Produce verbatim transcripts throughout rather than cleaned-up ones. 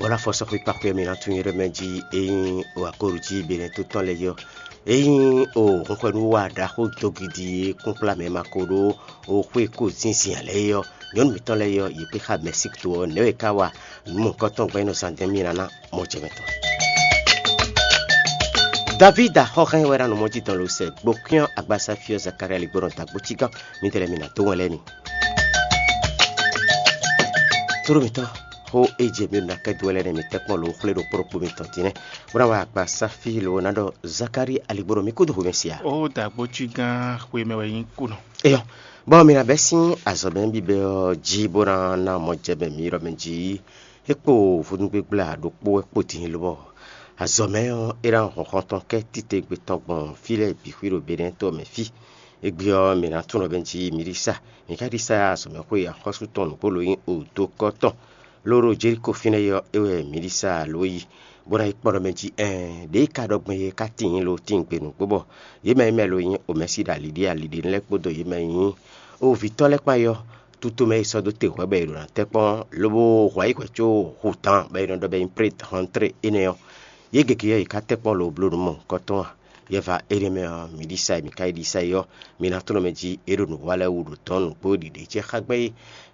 Ɔ́ ná fɔ sɔ́ xwé kpákpé mì ná tunwun yé ɖɔ mɛ jí é nyí o akóɖu jí Benɛ́ tó tɔn lɛ́ɛ yɔ́. É nyí o hunhwɛnúwa ɖaxó dogidi e kúnkplá mɛ ma ko ɖó o xwé ko zínzin ǎ lɛ́ɛ é ɔ́, nyɔ̌nu mǐtɔn lɛ́ɛ yɔ́, yě kpé xá Mɛsík to ɔ́, nɛ̌ wɛ é ka wa? Nǔ mɔ̌hunkɔtɔn gbɛn nɔ zán dɛn mì ná ná mɔ jɛ mɛ tɔn. Davída xɔhɛn wɛ ná nɔ mɔ jí dɔn lo sɛ gbokyɔ́n agbasa fí ɔ́ Zakalía ligbɔnɔ dǎgbó cígán, mǐdɛɛ lɛ́ɛ mi ná dó wɛn lɛ́ɛ mi. Tlóló mǐtɔn, xó e jɛ mǐ ɖo ná kɛ dó wɛ lɛ́ɛ nɛ́, mǐ tɛ́ kpɔ́n lo xwlé ɖo kplɔ́kpo mitɔn din nɛ́, bó ná wá akpa sáfí lo ná ɖɔ Zakalía aligbɔnɔ mǐ kúdó xwemɛ sia. Ó dǎgbó cígán xwemɛ wɛ nyí kúnɔ. Eyɔ, bɔ mǐ ná bɛ́ sín azɔ̌ mɛ bíbɛ́ ɔ́ jí bó ná ná mɔ jɛ mɛ mǐ ɖɔ mɛ jí. É kpo vodúngbégbla ɖokpó wɛ kpo din lobɔ azɔ̌ mɛ ɔ́, é ná hɔn xɔntɔn kɛ́ titewungbe tɔn gbɔn fí lɛ́ɛ bǐ xwí ɖo Benɛ́ to ɔ́ mɛ fí. Égbé ɔ́, mǐ ná tunwun ɖɔ mɛ jí mǐ ɖi sa. Mǐ ka ɖi sa azɔ̌ mɛ xwé axɔ́sú tɔn nǔgbó lo nyí odokɔ́ tɔn. Lóɖo Jelíko fínɛ́ é ɔ́, é wɛ mǐ ɖi sa lǒ yi, bó ná yi kpɔ́ ɖɔ mɛ jí ɛɛn ɖěe ka ɖɔ gbɔn é ka tíin lo tíin gbe nǔgbó bɔ yě mɛ e mɛ lo nyí omɛ̌si ɖo ali ɖé ali ɖé lɛ́ɛ kpódó yě mɛ e nyí ovǐtɔ́ lɛ́ɛ kpán é ɔ́, tutomɛ e sɔ́ dó te hwɛ̌ bɔ è ɖo ná tɛ́ kpɔ́n lobo hwɛ ayǐ hwɛ̌ có hu tán bɔ è nɔ ɖɔ bɔ é nyí pré hɔntré énɛ́ ɔ́, yě gěgé ɔ́, yě ká tɛ́ kpɔ́n lo bló nǔ mɔ̌hunkɔtɔn a? Yɛva énɛ́ mɛ ɔ́, mi ɖi sa e mi ka yi ɖi sa é ɔ́, mi ná tlɔ́n mɛ jí é ɖo nǔ wa lɛ́ɛ wú ɖo dɔ̌n nǔgbó ɖiɖe ce xá gbɛ́ é.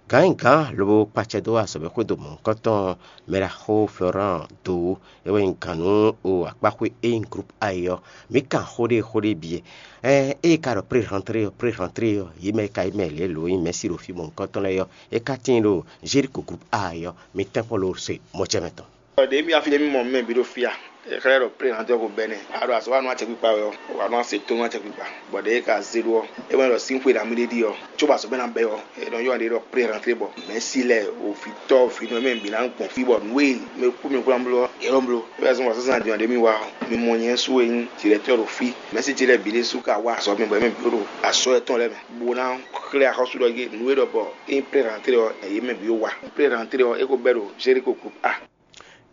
Gǎn e gǎn lobo kpacɛ dó azɔ̌ mɛ xwedó mɔ̌hunkɔtɔn ɔ́, mɛɖaxó Florán dó é wɛ nyí gǎn nú o akpáxwé e nyí Groupe A é ɔ́. Mǐ kan xó ɖé xó ɖé bǐ. Ɛɛ ée ka ɖɔ pré-rantré ɔ́, pré-rantré ɔ́, yě mɛ e ka yí mɛ lě lo nyí mɛ̌si ɖo fí mɔ̌hunkɔtɔn lɛ́ɛ ɔ́, é ka tíin ɖo Jelíko Groupe A é ɔ́, mi tɛ́nkpɔ́n lo se mɔjɛmɛ tɔn. Ɖě mì afi ɖé mì mɔ mɛ bǐ ɖo fí a? Xlɛ́ ɖɔ plé hǎn tɔ́ ko bɛ́nɛ. A ɖo azɔ̌ wa nú acɛkpikpa wɛ ɔ́, wa nú ase tó nú acɛkpikpa. Bɔ ɖěe ka zé ɖó ɔ́, é wɛ ɖɔ sín xwe nǎ mì ɖe ɖi ɔ́, cóbɔ azɔ̌ mɛ ná bɛ́ ɔ́, è nɔ ylɔ́ ɖě ɖɔ plé hǎn tlé bɔ mɛ̌si lɛ́ɛ, o vǐtɔ́ vǐnɔ e mɛ bǐ ná gbɔn fí bɔ nǔ e mɛ kú mɛ kplɔ́n bló ɔ́, è nɔ bló. É wɛ zɔ́n wǎ zínzán din ɔ́ ɖě mì wa ɔ́, mi mɔ nyɛ sú e nyí dirɛtɔ́ ɖo fí. Mɛ̌si ce lɛ́ɛ bǐ ɖésú ka wá azɔ̌ mɛ bɔ é mɛ bǐ ɖo asɔ́ yɛtɔn lɛ́ɛ mɛ, bó ná xlɛ́ axɔ́sú ɖɔ yé nǔ e ɖɔ bɔ é nyí plé hǎn tlé ɔ́, yě mɛ bǐ wa. Plé hǎn tlé ɔ́, é ko bɛ́ ɖo Jelíko Groupe A.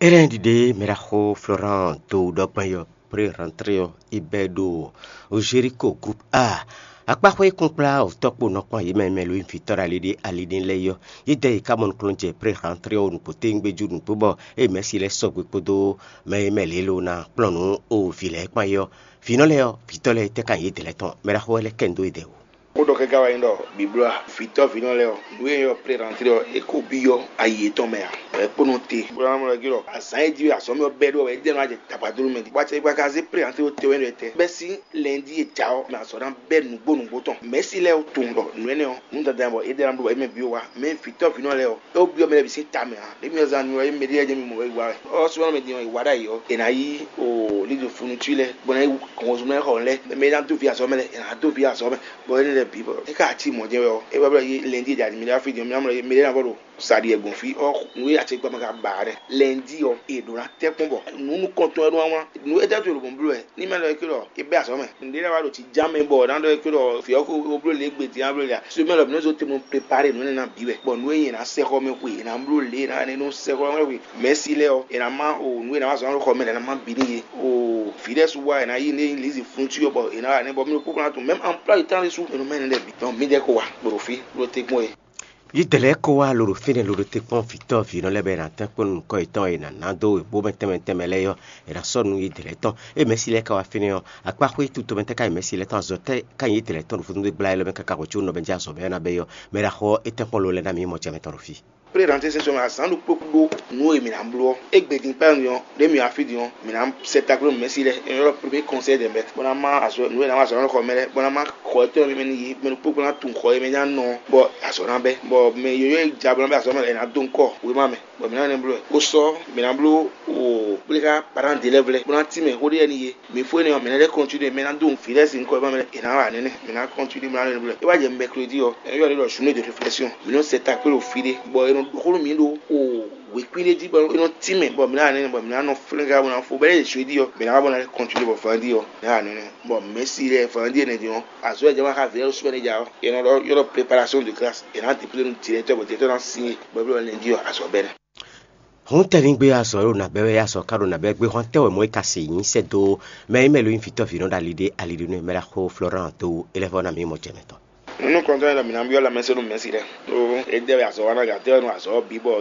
Énɛ́ ɖiɖe mɛ ɖaxó Florán dó ɖɔ gbɔn yɔ pré rantré ɔ́, yi bɛ́ ɖo Jelíko Groupe A. Akpáxwé kúnkplá wǔtɔ́ kpo nɔ kpɔ́n yě mɛ mɛ lo nyí vǐtɔ́ ɖo ali ɖé ali ɖé lɛ́ɛ yɔ. Yídɛ yi ka mɔ nukúnnú jɛ pré rantré ɔ́ nukpó téŋgbéjú nukpó bɔ ée mɛ̌si lɛ́ɛ sɔgbe kpódó mɛ e mɛ lě lo ná kplɔ́n nǔ o vǐ lɛ́ɛ kpán é ɔ́, vǐnɔ lɛ́ɛ ɔ́, vǐtɔ́ lɛ́ɛ tɛ́ ka nyí yědɛɛ lɛ́ɛ tɔn. Mɛ ɖaxó wɛ lɛ́ kɛ nǔ dó yědɛɛ wú. Xó ɖɔ káká wɛ nyí ɖɔ bǐblɔ́ a, vǐtɔ́ vǐnɔ lɛ́ɛ ɔ́, nǔ e nyí ɔ́ plé rantré ɔ́, é ko byɔ́ ayi yětɔn mɛ ǎ. Bɔ é kpó nɔ te, bó ná mɔ ɖɔ jí ɖɔ azǎn e jí wɛ azɔ̌ mɛ ɔ́ bɛ́ ɖó wɛ, é jɛ́n nɔ wá jɛ tagbadónú mɛ din. Bɔ acɛ e gba ka zé plé rantré ɔ́ te wɛ ɖɔ tɛ́. Bɛ́ sín lɛ̌ndí e jǎ ɔ́ mɛ azɔ̌ ná bɛ́ nǔgbó nǔgbó tɔn. Mɛ̌si lɛ́ɛ ɔ́ tunwun ɖɔ nǔ énɛ́ ɔ́, nǔ dandan bɔ é ɖe ná bló bɔ é mɛ bǐ wa. Mɛ vǐtɔ́ vǐnɔ lɛ́ɛ ɔ́, é wú byɔ́ mɛ lɛ́ɛ bǐ sín ta mɛ ǎ. Ɖě mì ɔ́ zán nú ɔ́, é mɛ ɖé lɛ́ɛ jɛ́n mi mɔ wɛ yi wa wɛ. Ɔ́ súnmọ́ mɛ din ɔ́, yi wa ɖ'ayǐ ɔ́, è nǎ yí o lídò funutú lɛ́ɛ, bó ná yí hɔnzun mɛ xɔ lɛ́ɛ. Mɛ e ná dó vi azɔ̌ mɛ lɛ́ɛ, è nǎ dó vi azɔ̌ mɛ. Bɔ énɛ́ lɛ́ɛ bǐ bɔ é ka cí mɔ̌ jɛ́n wɛ ɔ́, é wá bló yí lɛndí e jɛ adimilá fí din ɔ́, mì ná mɔ mɛ ɖé ná vɔ ɖo sa ɖi wɛ gbɔn fí ɔ́, nǔ e acɛkpa mɛ ka ba ǎ nɛ́. Lɛndí ɔ́, è ɖǒ ná tɛ́ kpɔ́n bɔ nǔ nukɔntɔn wɛ ɖó wá wlán. Nǔ étɛ́ to ɖo mɔ̌ bló wɛ? Ní mɛ lɔ é ké ɖɔ é bɛ́ azɔ̌ mɛ. Nǔɖé ná wá ɖo jǐján mɛ bɔ ná ɖɔ é ké ɖɔ fǐ ɔ́ ko bló lě gbe din ná bló lě ǎ. Sumɛ lɔ mǐ nɔ́ zó te nɔ prepare nǔ énɛ́ ná bǐ wɛ. Bɔ nǔ e nyɛ ná sɛ́ xɔ mɛ xwe, è nǎ bló lě, è nǎ nɔ sɛ́ xɔ mɛ xwe. Mɛ̌si lɛ́ɛ ɔ́, è nǎ má o nǔ e è nǎ má zɔn ná ɖo xɔ mɛ lɛ́ɛ ná má bǐ n'i é. O vǐ ɖɛ́ su wá è nǎ yí ní lízi fún cyɔ bɔ è nǎ wa nɛ́ bɔ mì ɖo kpókpó ná tunwun mɛ̌m anplá yi tán ɖésú è nɔ mɛ nɛ́ lɛ́ɛ bǐ. Dɔn mǐdɛɛ ko wa ɖo fí ɖó te kpɔ́n é. Yídɛɛ lɛ́ɛ ko wá lo ɖo fínɛ́ lo ɖo te kpɔ́n vǐtɔ́ vǐnɔ lɛ́ɛ bɔ è nǎ tɛ́n kpɔ́n nú nukɔn yětɔn e è nǎ ná dó wěbómɛ tɛnmɛ tɛnmɛ lɛ́ɛ ɔ́, è nǎ sɔ́ nú yídɛɛ lɛ́ɛ tɔn. Ée Mɛ̌si lɛ́ɛ ka wá fínɛ́ ɔ́, akpáxwé tutomɛ tɛ́ ka nyí Mɛ̌si lɛ́ɛ tɔn, azɔ̌ tɛ́ ka nyí yídɛɛ lɛ́ɛ tɔn ɖo fúnú gbla élɔ́ mɛ káká hwɛ̌ có nɔ bɛ́ jɛ azɔ̌ bɛ́ ɔ́ ná bɛ́ é ɔ́, mɛ ɖaxó ɔ́, é tɛ́n kpɔ́n lo lɛ́ɛ ná mì yi mɔ jɛ mɛtɔn ɖo fí. Plé ranté sɛ́n sɔmɛ azǎn ɖokpó kpó nǔ e mǐ ná bló ɔ́, égbé din pɛ́ ɔ́, ɖě mǐ wá fí din ɔ́, mǐ ná sɛ takló nǔmɛ́si lɛ́ɛ, é nɔ ylɔ́ pré kɔnsɛ́ dɛ̌n bɛ́, bó ná má azɔ̌ nǔ e ná má azɔ̌ ɔ́ xɔ mɛ lɛ́ɛ, bó ná má xɔ étɔn mɛ ní yě, mɛ ɖokpó kpó ná tunwun xɔ e mɛ ná nɔ ɔ́, bɔ azɔ̌ ná bɛ́, bɔ mɛ yǒyó e ja bó ná bɛ́ azɔ̌ mɛ lɛ́ɛ, è nǎ dó ŋkɔ wěma mɛ, bɔ mǐ ná nɛ́ bló wɛ. Xó sɔ́ mǐ ná bló o kplé xá parán ɖě lɛ́ɛ vlɛ́, bó ná tínmɛ xó ɖé lɛ́ɛ n'i yě. Mǐ fó énɛ́ ɔ́, mǐ ná lɛ́ kɔntinué, mɛ ná dó vǐ lɛ́ɛ sín nukɔn e ma mɛ lɛ́ɛ, è nǎ wa nɛnɛ, mǐ ná kɔntinué, mǐ ná lɛ́ bló. É wá jɛ mɛklodi ɔ́, é ylɔ́ ɖě ɖɔ journée de réflexion. Mǐ nɔ sɛ takpé ɖo fí ɖé, bɔ è nɔ ɖo xó nú mǐ ɖo o wěkwín ɖé jí, bɔ é nɔ tínmɛ, bɔ mǐ ná wa nɛnɛ, bɔ mǐ ná nɔ flɛ́n xá bó ná fó. Bɔ é jɛ joedi ɔ́, mǐ ná wá bó ná lɛ́ kɔntinué bɔ vɛndi ɔ́, mǐ ná wa nɛnɛ. Bɔ mɛ̌si lɛ́ɛ vɛndi énɛ́ din ɔ́, azɔ̌ e jɛ wá xá vǐ lɛ́ɛ ɖo súnmɛ ɖé ja ɔ́, è nɔ ɖɔ ylɔ́ préparation de classe, è nǎ dépouillé nú directeur, bɔ directeur ná signé, bɔ é bló lɛnjí ɔ́, azɔ̌ bɛ́ nɛ́. Hǔn tɛ́ ní gbé azɔ̌ ɖo nǎ bɛ́ wɛ, azɔ̌ ka ɖo nǎ bɛ́ gbéhɔn tɛ́ wɛ mɔ̌ é ka se nyí sɛ́ dó mɛ e mɛ lo nyí vǐtɔ́ vǐnɔ ɖo ali ɖé ali ɖé nú ɛ mɛ ɖaxó Florán dó é lɛ́ vɔ́ ná mǐ mɔ jɛ mɛ tɔn. Nǔ nukɔntɔn e ɖɔ mǐ ná byɔ́ lanmɛsɛ́nú Mɛ̌si lɛ́ɛ, ɖó é dɛ wɛ azɔ̌ wa ná gǎn tɛ́ wɛ nú azɔ̌ ɔ́ bǐ bɔ